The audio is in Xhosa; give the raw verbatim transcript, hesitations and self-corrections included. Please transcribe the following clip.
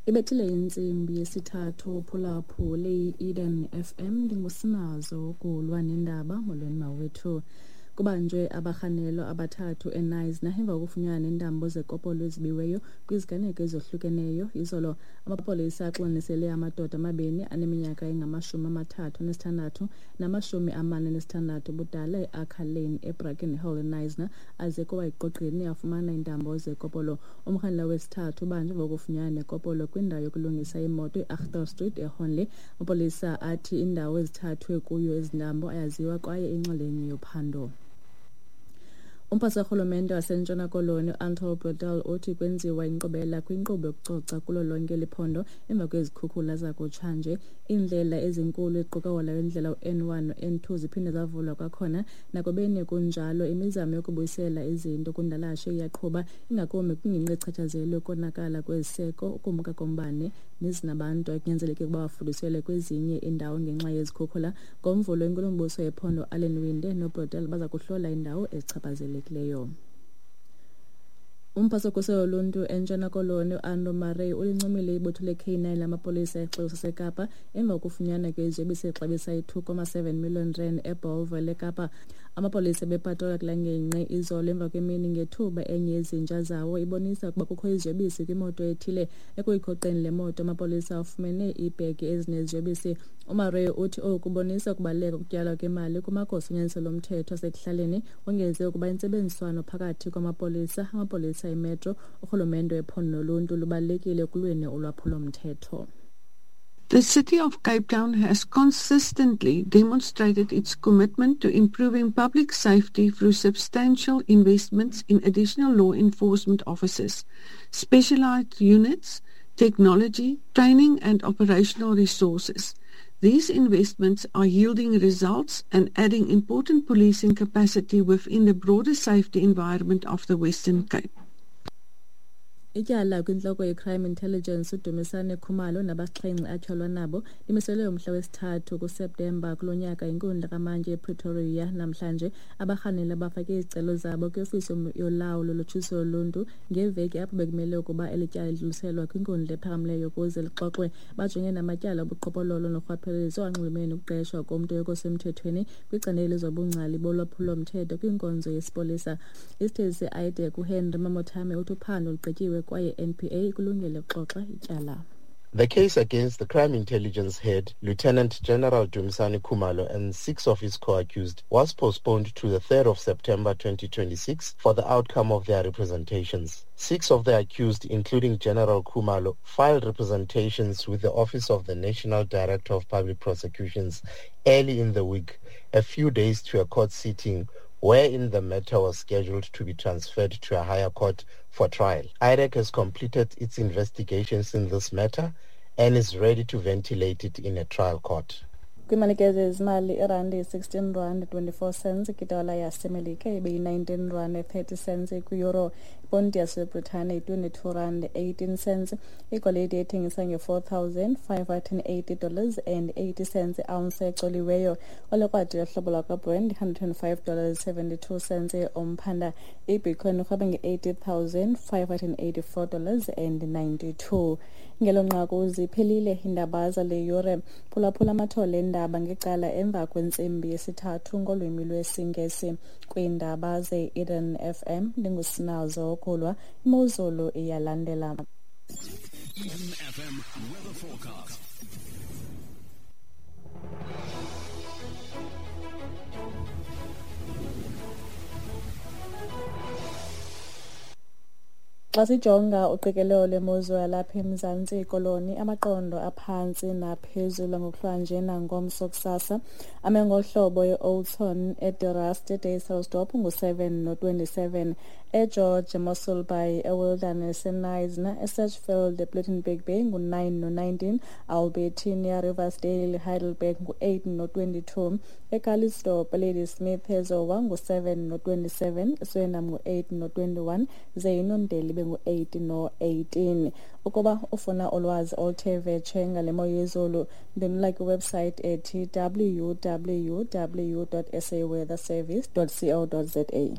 Ibethile intsimbi yesithathu phulaphule i-Eden F M, ndingusinazo ukulwa nendaba. Molweni mawethu. Kubanjwe abarhanelwa abathathu eKnysna emva kokufunyanwa neentambo zekopolo ezibiweyo kwiziganeko ezohlukeneyo. Izolo amapolisa axonisele amadoda amabini aneminyaka engamashumi amathathu anesithandathu namashumi amane anesithandathu ubudala e-Archer Lane eBrackenhill eKnysna aze kuwa eqoqweni afumana iintambo zekopolo. Umrhanelwa wesithathu ubanjwe emva kokufunyanwa nekopolo kwindawo yokulungisa imoto e-Achter Street eHornley. Amapolisa athi indawo ezithathwe kuyo ezi ntambo ayaziwa kwaye inxalenye yophando. Umphatsi karhulumente waseNtshona Koloni uAnton Bredell uthi kwenziwa inkqubela kwinkqubo yokucoca kulo lonke liphondo emva kwezikhukhula zakutshanje. Iindlela ezinkulu eziquka wona indlela u-N one no-N two ziphinde zavulwa kwakhona. Nakubeni kunjalo, imizamo yokubuyisela izinto kundalashe iyaqhuba, ingakumbi kwingingqi echatshazelwe ukonakala kweziseko, ukumka kombane nezinabantu ekunyanzeleke ukuba bafuduselwe kwezinye iindawo ngenxa yezikhukhula. Ngomvulo, inkulumbuso yephondo Alan Winde noBredell baza kuhlola iindawo ezichaphazelekileyo. Umphatsi wokhuselo loluntu eNtshona Koloni uAndrew Murray ulincomile ibutho le-K nine lamapolisa exeko saseKapa emva kokufunyanwa kweziyobisi exabisa i-two comma seven million rand eBellville eKapa. Amapolisa bepatrola kula ngingqi izolo emva kwemini ngethuba enye yezinja zawo ibonisa ukuba kukho iziyobisi kwimoto ethile. Ekuyikhoqeni le moto amapolisa afumene iibhegi ezineziyobisi. UMurray uthi oku kubonisa ukubaluleka kokutyalwa kwemali kumagosa onyanzeliso lomthetho asekuhlaleni. Wongeze ukuba intsebenziswano phakathi kwamapolisa, amapolisa emetro, urhulumente wephondo noluntu lubalulekile ekulweni ulwaphulomthetho. The City of Cape Town has consistently demonstrated its commitment to improving public safety through substantial investments in additional law enforcement officers, specialized units, technology, training and operational resources. These investments are yielding results and adding important policing capacity within the broader safety environment of the Western Cape. Ityala kwintloko ye-Crime Intelligence uDumisane Khumalo nabasixhenxe atyholwa nabo limiselwe umhla wesithathu kuSeptemba kulo nyaka inkundla kamantyi ePretoria. Namhlanje abarhanelwa bafake izicelo zabo kwiofisi yolawulo lotshutshiso loluntu ngeveki apho bekumele ukuba eli tyala lidluliselwa kwinkundla ephakamileyo ukuze lixoxwe. Bajongene namatyala obuqhophololo norhwaphilizo anxulumene nokuqeshwa komntu okusemthethweni kwicandelo lezobungcali bolwaphulomthetho kwinkonzo yesipolisa. Isithethi se-I D E C uHenry Mamothame uthi uphando lugqityiwe kwaye N P A ikulungele ukuxoxa ityala. The case against the crime intelligence head, Lieutenant General Dumisani Khumalo, and six of his co-accused was postponed to the third of September twenty twenty-six for the outcome of their representations. Six of the accused, including General Khumalo, filed representations with the Office of the National Director of Public Prosecutions early in the week, a few days to a court sitting wherein the matter was scheduled to be transferred to a higher court for trial. I D E C has completed its investigations in this matter and is ready to ventilate it in a trial court. Kwimalike zezimali, irandi sixteen rand twenty-four cents, idola yasemelika ibeyi-nineteen rand thirty cents kwi-euro, iponti yaseBritane yi-twenty-two rand eighteen cents, igolide ethengisa nge-four thousand five hundred and eighty dollars and eighty cents i-ounce ecoliweyo. Olekrwada yohlobo lwakwaBrent hundred and five dollars seventy-two cents umphanda. Ibitcoin irhweba nge-eighty thousand five hundred and eighty-four dollars and ninety-two. Ngelo nqaku ziphelile iindaba zale yure. Phulaphula amathole endaba ngecala emva kwentsimbi yesithathu ngolwimi lwesiNgesi. Kwiindaba ze-Eden F M ndingusinazo Kulwa. Imozulu iyalandela. Eden F M weather forecast. Xa sijonga uqikelelo lwemozulu yalapha eMzantsi Koloni, amaqondo aphantsi naphezulu ngokuhlwanje nangomso kusasa ame ngohlobo e-Oudtshoorn, eDe-Rust, eDysselsdorp ngu-seven no-twenty-seven, eGeorge, eMossel Bay, eWilderness, eKnysna, eSedgefield, ePlettenberg Bay ngu-nine no-nineteen, Albertinia, Riversdale, Heidelberg ngu-eight no-twenty-two, eCalitzdorp, Ladysmith, eZowa ngu-seven no-twenty-seven, eSuriname ngu-eight no-twenty-one, ze iNondeli ibe ngu-eight no-eighteen. Ukuba ufuna ulwazi oluthe vetshe ngale mo yezulu, ndwendwela kwiwebsite ethi w w w dot s a weather service dot co dot z a.